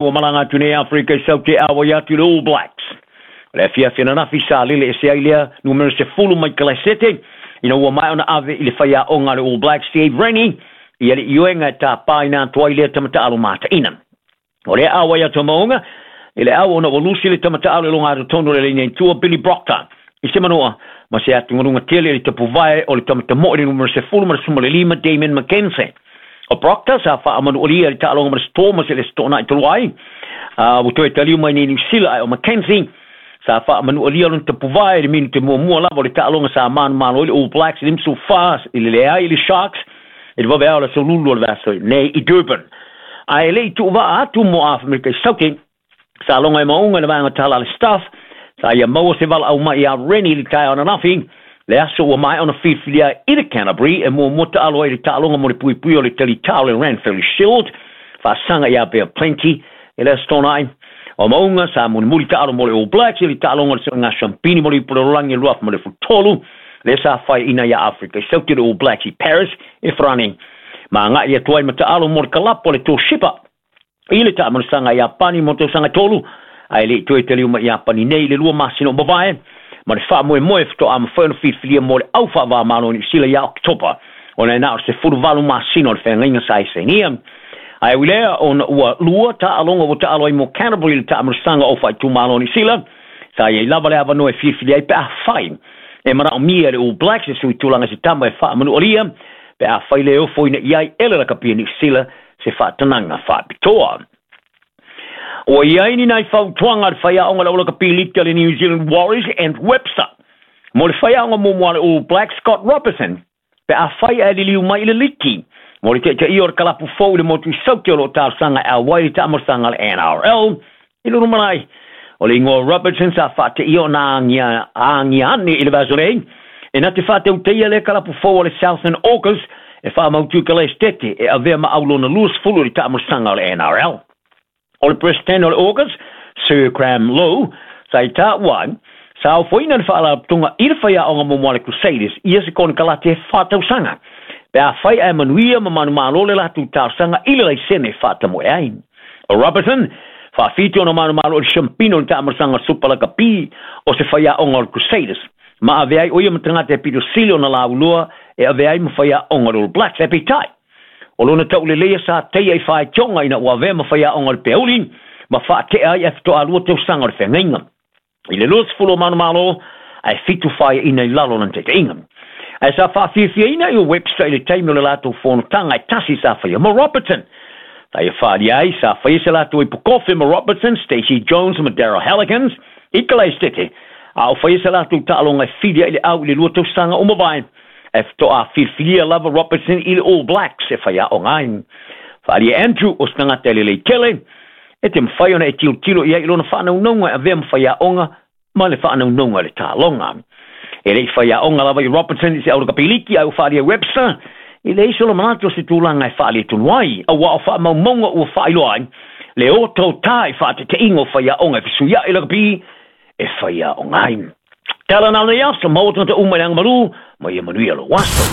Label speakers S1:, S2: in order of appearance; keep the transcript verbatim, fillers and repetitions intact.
S1: Ua malaga atu nei Afrika i Saute auai atu i le All Blacks. O le afiafi ananafi sa lele ese ai lea numera sefulu mai Kalaisete ina ua maea ona ave i le faiaoga a le All Blacks Steve Rennie ia le ioega e tapaina atu ai lea tamataalo mataina. O lea auai atu a Mauga i le au ona ua lusi le tamataalo i luga totonu o le laina i tua Billy Proctor i se manoa ma se atugaluga tele i le tapuvae o le tamatamoe i le numera sefulu ma le sefulu ma le lima Damien McKenzie. O Proctor sa faamanualia i le taaloga ma le Stormers i le Toonai talu ai ua toe taliu mai nei Niu Sila, ae o McKenzie sa faamanualia lona tapuvae i le minute muamua lava o le taaloga sa manumalo ai le All Blacks i le lima fa i le leai i le Sharks i le vaveao o le aso Lulu o le vaiaso nei i Durban. Ae le i tuuvaa atu mo Afrika i Saute, sa loga e Mauga i le vaega tala a le staff sa ia maua se valaau mai ia Rennie i le taeao ananafi, le aso ua maea ona filifilia i le Canterbury e muamua taalo ai i le taaloga mo le puipui o le talitao le Ranfurly Shield faasaga ia Bay of Plenty i le Aso Toonai. O Mauga sa mulimuli taalo mo le All Blacks i le taaloga o le Suega Siampini mo le Ipu Lalolagi e lua afe ma le tolu, lea sa faiaina ia Afrika i Saute le All Blacks i Paris i Farani ma agai atu ai ma taalo mo le kalapu a le Toshiba i le taamanosaga Iapani mo tausaga e tolu, ae le i toe taliu mai Iapani nei i le lua masina o mavae ma le faamoemoe faatoa mafai ona filifilia mo le au faavamalo i Niu Sila ia Oketopa, ona e na o le sefuluvalu masina o le feagaiga sa esenia. Ae ui lea ona ua lua taaloga ua taalo ai mo Canterbury i le taamanosaga o faaitumalo o Niu Sila, sa i ai lava le avanoa e filifili ai pe afai e manaomia e le All Blacks e sui tulaga se tama e faamanualia pe afai le ofoina i ai e le lakapi a Niu Sila se faatanaga faapitoa. Ua i ai ni nai fautuaga a le faiaoga le aulakapi liki a le New Zealand Warriors Ant Webster mo le faiaoga muamua a le All Blacks Scott Robertson pe afai ae liliu mai i le liki mo le taitaia o le kalapu fou i le motu i Saute o lo o talosaga e auai i le taamanosaga a le N R L i le lumanai. O le igoa o Robertson sa faateia ona agia agia ane i le vaiaso nei e na te faatautaia lea kalapu fou o le Southern Orcas e faamautu i Kalaestete e avea ma aulona luasefulu i le taamanosaga o le N R L. O le President o le Orcas, Sir Graham Lowe, sa i taua ai, sa ofoina le faalapotopotoga i le faiaoga muamua a le Crusaders ia se konekarate e faatausaga pe afai ae manuia ma manumalo le latou talosaga i le laisene e faatamoe ai. O Robertson, faafitu ona manumalo i le siampino o le taamanosaga Super Lakapi o se faiaoga o le Crusaders, ma avea ai o ia ma tagata e pito sili ona laulua e avea ai ma faiaoga o le All Blacks. Ae peitai, o lona tauleleia sa taia i faitioga ina ua avea ma faiaoga o le peauli ma faatea ai ae faatoa lua tausaga o le feagaiga. I le luasefulu o manumalo, ae fitu faiaina i lalo o lana taitaiga. Ae sa faafiafiaina i o Webster i le taimi o le latou fonotaga e tasi sa faia ma Robertson. Sa ia faaalia ai sa faia se latou ipu kofe ma Robertson, Stacey Jones ma Daryl Hallikins i Kalaestete, a o faia se latou taaloga e fili ai le au i le lua tausaga o mavae. Ae faatoa filifilia lava Robertson i le All Blacks e faiaoga ai. Faaalia Andrew o se tagata e lelei tele, e te mafai ona e tilotilo i ai i lona faanaunauga e avea ma faiaoga ma le faanaunauga i le taaloga. E le i faiaoga lava i Robertson i se aulakapiliki ae ua faaalia Webster i leai se manatu o se tulaga e faaletonu ai, auā o faamaumauga ua faailoa ai le otaota i faateteiga o faiaoga e fesuiai lakapi e faiaoga ai. Tala na nei aso, maua tagata uma i le agamalu, ma ia manuia lou aso.